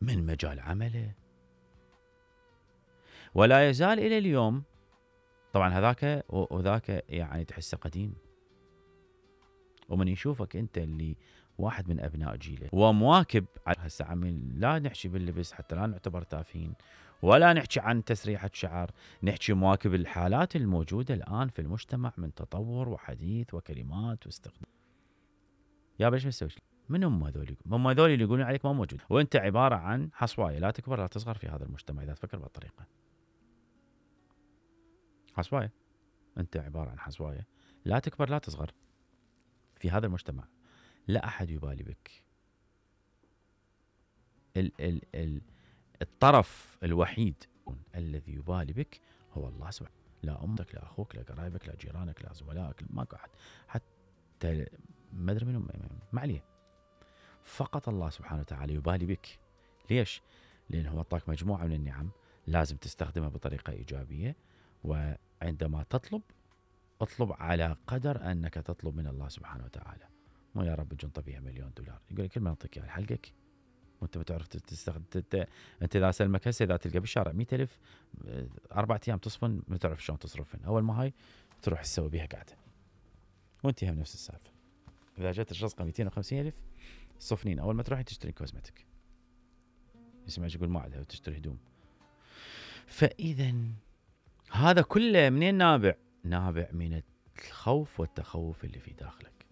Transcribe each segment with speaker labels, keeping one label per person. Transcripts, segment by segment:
Speaker 1: من مجال عمله. ولا يزال إلى اليوم، طبعا هذاك وذاك يعني تحسه قديم، ومن يشوفك أنت اللي واحد من أبناء جيله ومواكب هسه عمي، لا نحكي باللبس حتى لا نعتبر تافهين، ولا نحكي عن تسريحة شعر، نحكي مواكب الحالات الموجودة الآن في المجتمع من تطور وحديث وكلمات واستخدام. يا بلش مسوي من هم هذول؟ هم هذول اللي يقولون عليك ما موجود، وانت عبارة عن حصواية لا تكبر لا تصغر في هذا المجتمع إذا تفكر بهالطريقة. حصواية، انت عبارة عن حصواية لا تكبر لا تصغر في هذا المجتمع. لا أحد يبالي بك. الطرف الوحيد الذي يبالي بك هو الله سبحانه. لا أمك لا أخوك لا قرايبك لا جيرانك لا زملائك، ماكو أحد، حتى ما أدري منهم، ما عليه. فقط الله سبحانه وتعالى يبالي بك. ليش؟ لأنه هو أعطاك مجموعة من النعم لازم تستخدمها بطريقة إيجابية، وعندما تطلب اطلب على قدر أنك تطلب من الله سبحانه وتعالى. مو يا رب جنطة بيها $1,000,000 يقول لك كل ما نعطيك اياها حلقك وانت ما تعرف تستخدم. انت اذا سلمك هسه اذا تلقى بالشارع 100,000 4 ايام تصفن ما تعرف شلون تصرفن، اول ما هاي تروح تسوي بيها قاعده وانت هم نفس السالفه. اذا جت الرزقه 250,000 صفنين، اول ما تروح تشتري كوزمتك يسمعك يقول ما عندها وتشتري هدوم. فاذا هذا كله منين نابع؟ نابع من الخوف والتخوف اللي في داخلك.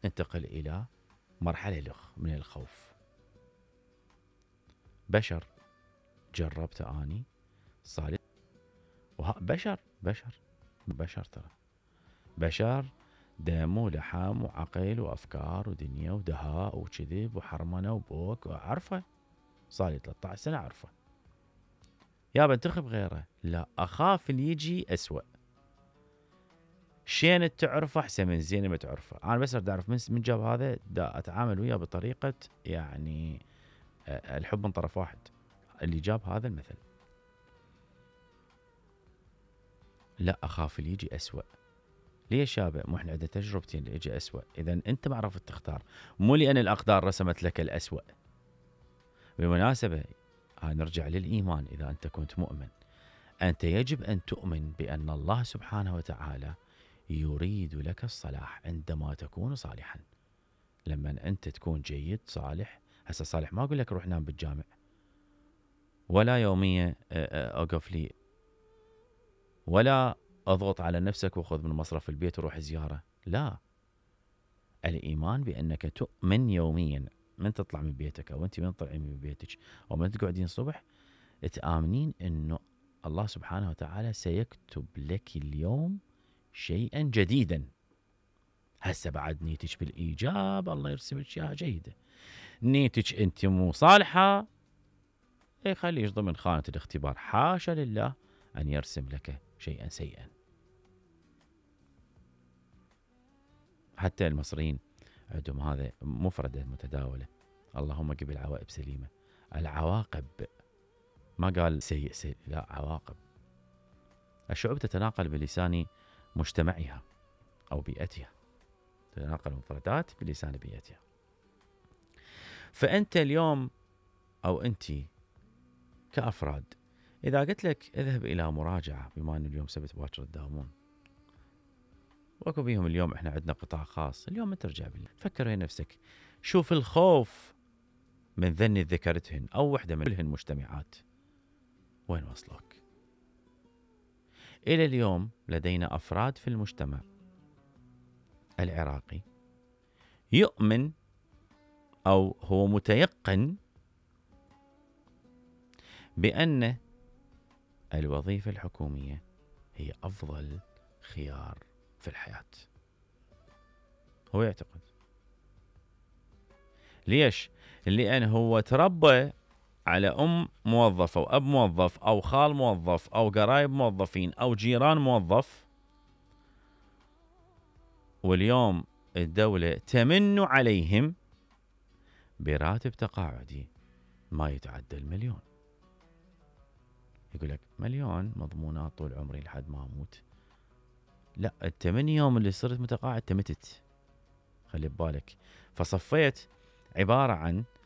Speaker 1: انتقل الى مرحلة من الخوف. بشر جربت أني صار بشر ترى بشر دم ولحم وعقل وأفكار ودنيا ودهاء وكذب وحرمنة وبوك وعرفه. صار لي 13 سنة عرفه. يا بنتخب غيره؟ لا، أخاف اللي يجي أسوأ. شين تعرفه أحسن من زين ما تعرفه. أنا بس أريد أعرف من جاب هذا، دا أتعامل وياه بطريقة يعني الحب من طرف واحد. اللي جاب هذا المثل لا أخاف اللي يجي أسوأ. ليش يابا؟ مو احنا عندنا تجربتين اللي يجي أسوأ. إذا أنت ما عرفت تختار، مو لأن الأقدار رسمت لك الأسوأ. بالمناسبة نرجع للإيمان. إذا أنت كنت مؤمن، أنت يجب أن تؤمن بأن الله سبحانه وتعالى يريد لك الصلاح عندما تكون صالحا. لما أنت تكون جيد صالح، هسه صالح ما أقول لك روح نام بالجامع، ولا يومية أقف لي، ولا أضغط على نفسك وخذ من مصرف البيت وروح زيارة. لا، الإيمان بأنك تؤمن يوميا من تطلع من بيتك أو أنت من تطلعين من بيتك أو من تقعدين الصبح، تآمنين أنه الله سبحانه وتعالى سيكتب لك اليوم شيئا جديدا. هسه بعد نيتك بالإيجاب الله يرسم لك إياها جيدة، نيتك أنت مو صالحة خليش ضمن خانة الاختبار. حاشا لله أن يرسم لك شيئا سيئا. حتى المصريين عندهم هذا مفردة متداولة، اللهم قبل العواقب سليمة. العواقب ما قال سيء سيء، لا، عواقب. الشعوب تتناقل بلسان مجتمعها أو بيئتها، تتناقل المفردات بلسان بيئتها. فأنت اليوم أو أنت كأفراد، إذا قلت لك اذهب إلى مراجعة، بما أن اليوم سبت باكر تداومون، وأكو بيهم اليوم إحنا عندنا قطاع خاص، اليوم أنت ترجع بالله فكر ويا نفسك، شوف الخوف من ذني ذكرتهن أو وحدة من كلهن مجتمعات وين وصلك. إلى اليوم لدينا أفراد في المجتمع العراقي يؤمن أو هو متيقن بأن الوظيفة الحكومية هي أفضل خيار في الحياة. هو يعتقد. ليش؟ لأن هو تربى على أم موظفة وأب موظف أو خال موظف أو قرايب موظفين أو جيران موظف، واليوم الدولة تمن عليهم براتب تقاعدي ما يتعدى 1,000,000. يقول لك 1,000,000 مضمونات طول عمري لحد ما أموت. لا، أنت من يوم اللي صرت متقاعد تمتت، خلي ببالك. فصفيت عبارة عن